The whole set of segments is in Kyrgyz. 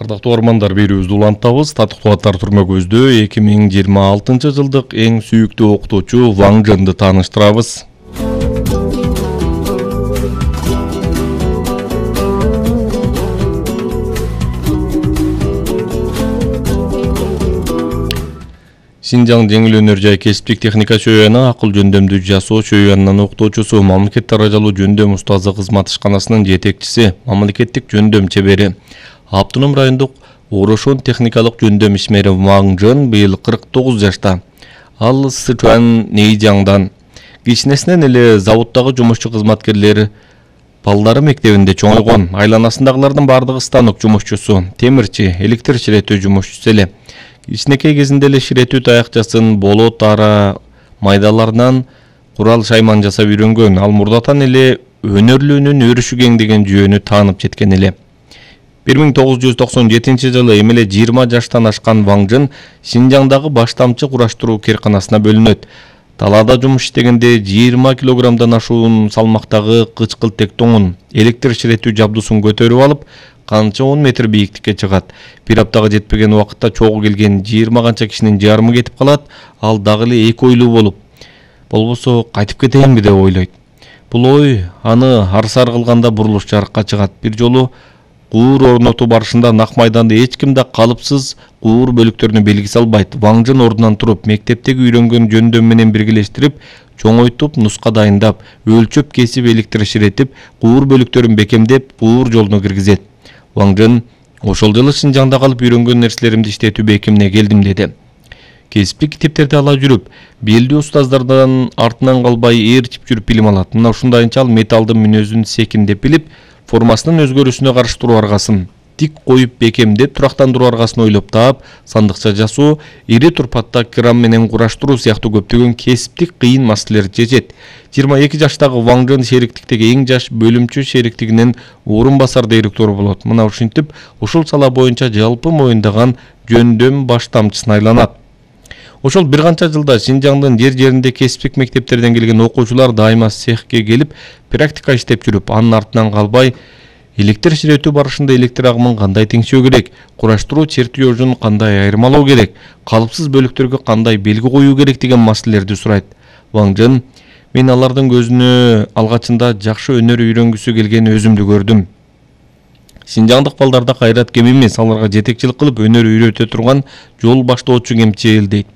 Ардактуу армандар, берүүбүздү улантабыз. Татыктуу аттар түрмөгүбүздө 2026 жылдык эң сүйүктүү окутуучу Ван Жэнди тааныштырабыз. Синжаң жеңил өнөр жай кесиптик техника чөйөөнү акыл жөндөмдүү жасоо чөйөөнүнүн окутуучусу, мамлекет даражалуу жөндөм устазы кызмат ишканасынын жетекчиси, мамлекеттик жөндөм чебери. Автоном райондук Орошон техникалык жөндөм ишмери Ван Жэн быйыл 49 жашта. Ал Сычуан Нэйжаңдан. Кичинесинен эле заводдогу жумушчу кызматкерлер балдары мектебинде чоңойгон. Айланасындагылардын бардыгы станок жумушчусу, темирчи, электр ширетүү жумушчусу эле. Кичинекей кезинде эле ширетүү таякчасын, болот ара майдаларынан курал шайман жасап үйрөнгөн. Ал мурдатан эле өнөрлүүнүн өрүшү кең деген жүйөнү таанып жеткен эле. 1997 жылы эмеле 20 жаштан ашкан Ван Жэн Синжаңдагы баштамчы кураштыруу керканасына бөлүнөт. Талаада жумуш иштегенде 20 килограммдан ашуун салмактагы кычкыл тектоңун, электр ширетүү жабдуусун көтөрүп алып, канча 10 метр бийиктикке чыгат. Бир аптага жетпеген убакытта чогуу келген 20 канча кишинин жарымы кетип калат. Ал дагы эле эки ойлуу болуп, болбосо кайтып кетейинби деп ойлойт. Бул ой аны арсар кылганда бурулуш жарыкка чыгат. Бир жолу куур орнотуу барышында нак майданда эч ким да калыпсыз куур бөлүктөрүнө белги салбайт. Ван Жэн ордунан туруп, мектептеги үйрөнгөн жөндөм менен биргелештирип, чоңойтуп, нуска дайындап, өлчөп кесип, электр ширетип, куур бөлүктөрүн бекемдеп, куур жолуна киргизет. Ван Жэн ошол жылы Синжаңда калып үйрөнгөн нерселеримди иштетүү бекимине келдим деди. Кесиптик китептерди ала жүрүп, белдүү устаздардан артынан калбай ээрчип жүрүп билим алат. Мына ушундайынча ал металлдын мүнөзүн секиндеп билип, формасынын өзгөрүүсүнө каршы туруу аргасын тик коюп бекемдеп, турактандыруу аргасын ойлоп таап, сандыкча жасоо, ири турпатта кран менен кураштыруу сыяктуу көптөгөн кесиптик кыйын маселелерди чечет. 22 жаштагы Ван Жэн шериктиктеги эң жаш бөлүмчү шериктигинин орун басар директору болот. Мына ушинтип, ушул сала боюнча жалпы моюндаган жөндөм баштамчысына айланат. Ошол бир канча жылда Синжаңдын жер-жеринде кесиптик мектептерден келген окуучулар дайыма цехке келип, практика иштеп жүрүп, анын артынан калбай, электр ширетүү барышында электр агымын кандай теңшөө керек, кураштыруу чертежин кандай айырмалоо керек, калыпсыз бөлүктөргө кандай белги коюу керек деген маселелерди сурайт. Ван Жэн: мен алардын көзүнө алгачында жакшы өнөр үйрөнгүсү келген өзүмдү көрдүм. Синжаңдык балдарда кайрат кем эмес, аларга жетекчилик кылып өнөр үйрөтө турган жол баштоочу кемчи эл дейт.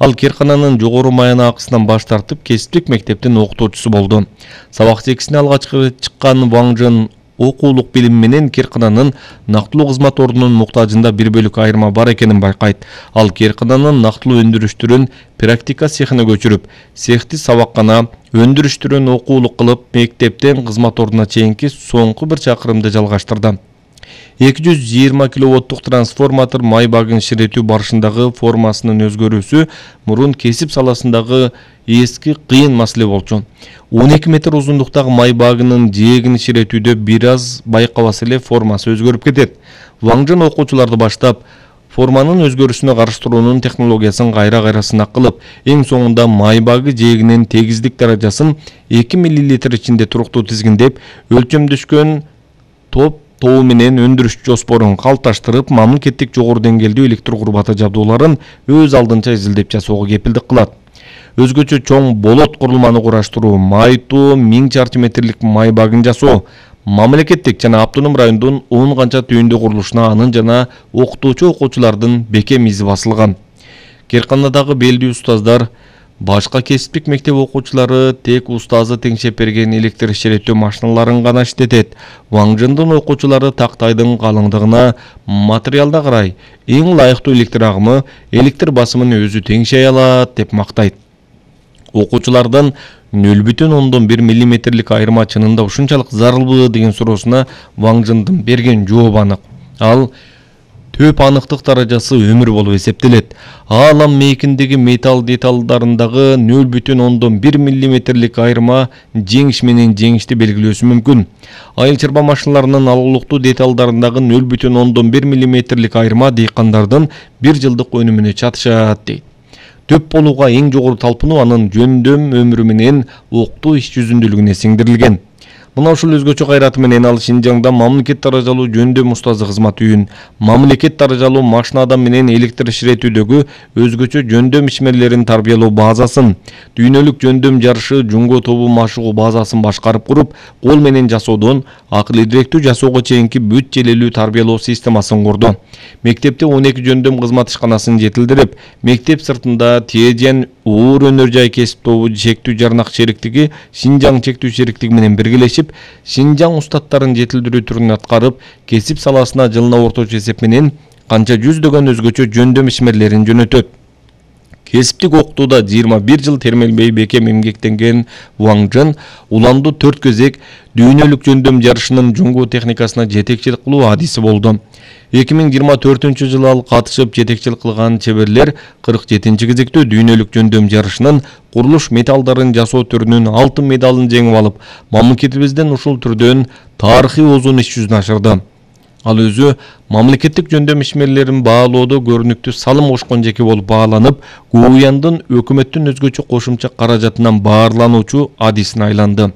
Ал керкананын жогору маянакысынан баш тартып, кесиптик мектептин окутуучусу болду. Сабак чекисине алгачкы чыккан Ван Жэн окуулук билим менен керкананын нактылуу кызмат ордунун муктажында бир бөлүк айырма бар экенин байкайт. Ал керкананын нактылуу өндүрүштөрүн практика цехине көчүрүп, цехти сабаккана, өндүрүштөрүн окуулук кылып, мектептен кызмат ордуна чейинки соңку бир чакырымды жалгаштырды. 220 киловаттык трансформатор май багын ширетүү барышындагы формасынын өзгөрүүсү мурун кесип саласындагы эски кыйын маселе болчу. 12 метр узундуктагы май багынын жээгин ширетүүдө бир аз байкабаса эле формасы өзгөрүп кетет. Ван Жэн окуучуларды баштап, форманын өзгөрүшүнө караштыруунун технологиясын кайра сынак кылып, эң соңунда май багы жээгинин тегиздик даражасын 2 мл ичинде туруктуу тизгиндеп, өлчөмдөшкөн тобу менен өндүрүш жоспорун калыпташтырып, мамлекеттик жогору деңгээлдүү электр курбаты жабдууларын өз алдынча изилдеп жасоого кепилдик кылат. Өзгөчө чоң болот курулманы кураштыруу, майтуу 1000 чарчы метрлик май багын жасоо, мамлекеттик жана автоном райондун 10 канча түйүндүү курулушуна анын жана окутуучу окуучулардын бекем изи басылган. Керканадагы белдүү устаздар, башка кесиптик мектеп окуучулары тек устазы теңшеп берген электр ширетүү машиналарын гана иштетет. Ван Жэндин окуучулары тактайдын калыңдыгына, материалда карай, эң ылайыктуу электр агымы, электр басымын өзү теңшей алат деп мактайт. Окуучулардан 0,1 мм айырма чынында ушунчалык зарылбы деген суроосуна Ван Жэндин берген жооп анык. Ал төп аныктык даражасы өмүр болуп эсептелет. Алам мейкиндеги металл деталдарындагы 0,1 мм айырма жеңиш менен жеңишти белгилөөсү мүмкүн. Айыл чарба машиналарынын алгылыктуу деталдарындагы 0,1 мм айырма дыйкандардын бир жылдык өнүмүнө чатышат дейт. Төп болууга эң жогору талпынуу анын жөндөм өмүрү менен окутуу иш жүзүндүүлүгүнө сиңдирилген. Мына ушул өзгөчө кайраты менен ал Шинжаңда мамлекет даражалуу жөндөм устазы кызмат үйүн, мамлекет даражалуу машина адам менен электр иширетүүдөгү өзгөчө жөндөм ишмерлерин тарбиялоо базасын, дүйнөлүк жөндөм жарышы жунго тобу машыгуу базасын башкарып куруп, кол менен жасоодон акыл идиректүү жасоого чейинки бүт желелүү тарбиялоо системасын курду. Мектепте 12 жөндөм кызмат ишканасын жетилдирип, мектеп сыртында Тиежен оор өнөр жай кесип тобу чектүү жарнак шериктиги Шинжаң чектүү шериктиги менен биргелешип, Шинжаң устаттарын жетилдирүү түрүн аткарып, кесип саласына жылына орточо эсеп менен канча жүздөгөн өзгөчө жөндөм ишмерлерин жөнөтөт. Кесиптик окутууда 21 жыл термелбей бекем эмгектенген Ваң Жын уланду 4 кезек дүйнөлүк жөндөм жарышынын жуңгу техникасына жетекчилик кылуу адиси болду. 2024-жылы ал катышып жетекчилик кылган чеберлер 47 кезектөө дүйнөлүк жөндөм жарышынын курулуш металлдарын жасоо түрүнүн алтын медалын жеңип алып, мамлекетибизден ушул түрдөн тарыхый озун иш жүзүнө ашырды. Ал өзү мамлекеттик жөндөм ишмерлерин баалоодо көрүнүктүү салым кошкон жеке болуп бааланып, ГУЯндын өкмөттүн өзгөчө кошумча каражатынан баарлануучу адисине айланды.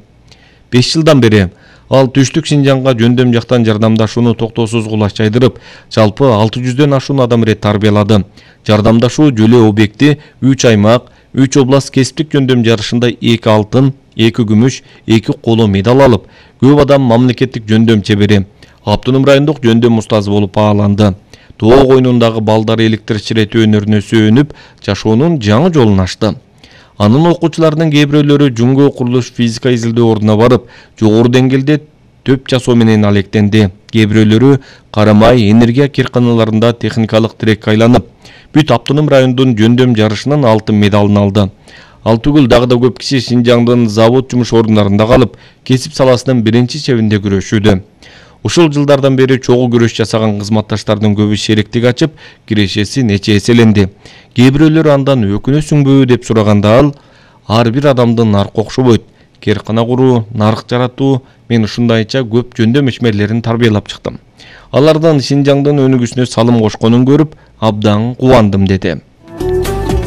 5 жылдан бери ал түштүк Шинжаңга жөндөм жактан жардамдашууну токтоосуз кулаш жайдырып, жалпы 600дөн ашуун адам ирет тарбиялады. Жардамдашуу жөлөө объекти 3 аймак, 3 област кесиптик жөндөм жарышында 2 алтын, 2 күмүш, 2 коло медаль алып, көп адам мамлекеттик жөндөм чебери, Автоном райондук жөндөм устазы болуп бааланды. Тоо койнундагы балдар электр иширетүү өнөрүнө сүйөнүп, жашоонун жаңы жолун ачты. Анын окуучуларынын кээ бирөөлөрү жуңго курулуш физика изилдөө ордуна барып, жогору деңгээлде төп жасоо менен алектенди. Кээ бирөөлөрү Карамай энергия кирканаларында техникалык тирекке айланып, бүт Автоном райондун жөндөм жарышынын алтын медалын алды. Ал түгүл дагы да көп киши Шинжаңдын завод жумуш орундарында калып, кесип саласынын биринчи чебинде күрөшүүдө. Ушул жылдардан бери чогуу күрөш жасаган кызматташтардын көбү шериктик ачып, кирешеси нече эселенди. Кээ бирөөлөр андан өкүнөсүңбү деп сураганда ал, ар бир адамдын наркы окшобойт. Керкана куруу, нарк жаратуу, мен ушундайча көп жөндөм ишмерлерин тарбиялап чыктым. Алардын Шинжаңдын өнүгүшүнө салым кошконун көрүп, абдан кубандым деди.